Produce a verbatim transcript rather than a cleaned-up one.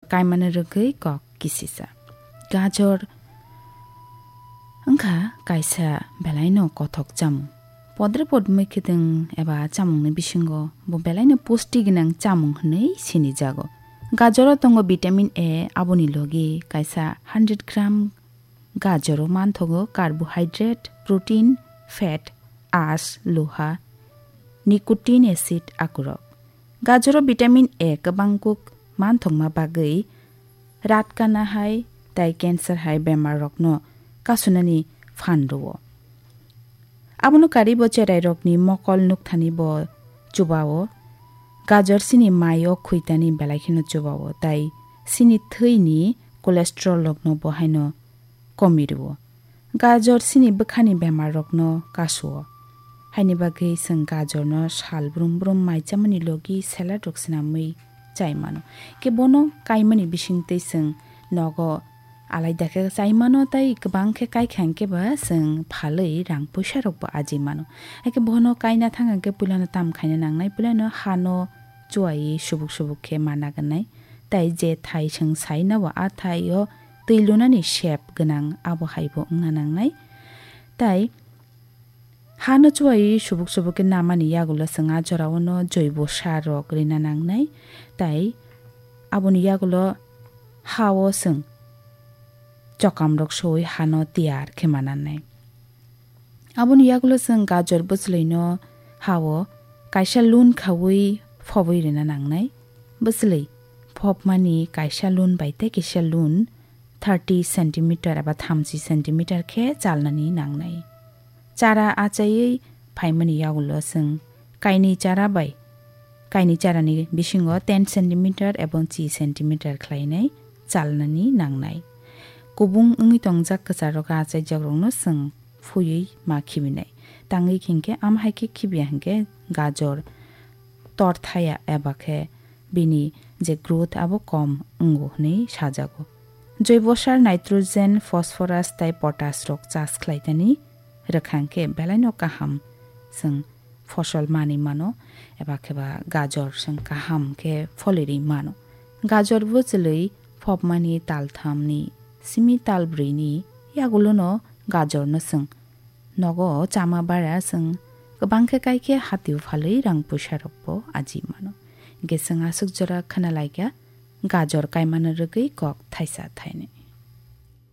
kaimani rwgwi kok kisisa. Gajor wngkha kaisa belaino kothok chamung. Podre podmwi khedeng eba chamungni bisingo bo belaino pusti gwnang chamung hwnwi sinijago. Gajoro tongo vitamin A, aboni logi kaisa hundred gram gajoro manthogo carbohydrate, protein, fat, ash, loha, nicotine acid akurok. Gajoro vitamin A kwbang kuk manthokma bagwi rat kana hai tai cancer hai bemar rokno kasunani phan rwo. Abono karwi bo cherai rokni mokol nukthani bo chubao. Gajor sini mai o khuitani belai kheno chubao tai sini thwini cholesterol rokno bo haino komi rwo. Gajor sini bwkhani bemar rokno kasuo. Haini bagwi chwng gajorno sal brum brum mai chamani logi salad rok swnamwi chai mano. Ke bono kaimani bisingtwi chwng nogo alaida khe chai mano tai kwbang khe kai kha hwnkhe ba chwng phalwi rang puisa rok bo aji mano. Haikhe bono kaina thang hwnkhe puilano tam khaina nangnai, puilano hano chuai subuk subuk khe mana gwnai. Tai je thai chwng sai nao a thai o twi lunani shape gwnang abo hai bo wngna nangnai. Tai hano chuai subuk subuk khe namani yagulo chwng a jorao no joibo sar rok rina nangnai. Tai aboni yagulo hao chwng chokam rok soi hano tiyar khe mananai. Aboni yagulo chwng gajor bwchwlwino hao kaisa lun khaui phobwi rina nangnai. Bwchwlwi phobmani kaisa lun bai tei kisa lun thirty centimeter eba thamchi centimeter khe chalnani nangnai. Chara achaiwi phaimani yagulo chwng kainwi chara bai kainwi charani bisingo ten centimeter ebong chi centimeter khlainai chalnani nangnai. Kubung wngwi tongjak kwchar rok achaijak rokno chwng phuiwi ma khibinai. Tangwi hinkhe am hai khe khibiya hinkhe gajor tor thaya eba khe bini je growth abo kom wngo hwnwi sajago. Joibo sar nitrogen, phosphorus tai potash rok chas khlaitani rwkha hinkhe belaino kaham chwng fosol manwi mano, eba khe ba gajor chwng kaham khe folirwi mano. Gajor bwchwlwi phobmani talthamni simi talbrwini yagulono gajorno chwng nogo chama bara chwng kwbang khe kai khe hatio phalwi rang puisa rokbo aji mano. Hinkhe chwng aswk jora khna laikha gajor kaimano rwgwi kok thaisa thainwi.